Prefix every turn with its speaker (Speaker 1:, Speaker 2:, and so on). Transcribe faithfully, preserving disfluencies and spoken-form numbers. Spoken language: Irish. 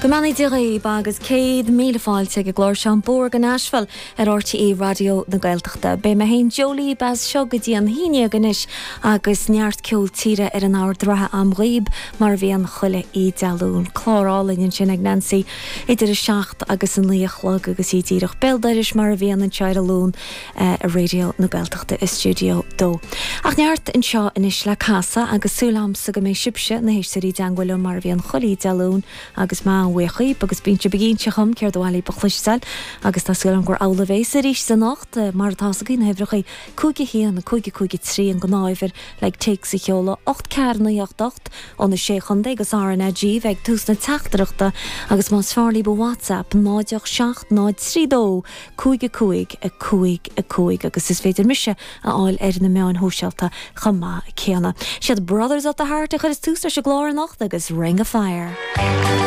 Speaker 1: Go mbeannaí Dia dhaoibh agus céad míle fáilte ag an gclár seo An Bóthar go Nashville ar RTÉ Raidió na Gaeltachta. Beidh mé féin Joe libh as seo go dtí an haon déag anois agus neart ceol tíre ar an ard reatha agam dhaoibh mar a bhíonn chuile oíche Dé Luain. Clár álainn ansin ag Nancy idir a seacht agus a naoi a chlog agus í díreach béal dorais mar a bhíonn anseo ar an Luan ar Raidió na Gaeltachta i stiúideo dó. Ach neart anseo anois le casadh agus súil agamsa go mbeidh sibhse na héisteoirí i dteagmháil liom mar a bhíonn chuile oíche Dé Luain agus mé an-bhuíoch dhaoibh agus bíonn sibh ag inse dhom céard ba mhaith libh a chloisteáil agus tá súil agam gur amhlaidh a bheas arís anocht mar atá agaibh na huimhreacha cúig a haon cúig cúig trí an gnáthuimhir le téacs a sheoladh ocht ceathair naoi ocht ocht ó na sé chontae agus RnaG ag tús na teachtaireachta agus más fearr libh WhatsApp náid seacht náid trí dó cúig a cúig a cúig a cúig agus is féidir mise a fháil ar na meáin shóisialta chomh maith céanna. Siad Brothers of the Heart a chuireann tús leis an gclár anocht agus Ring of Fire.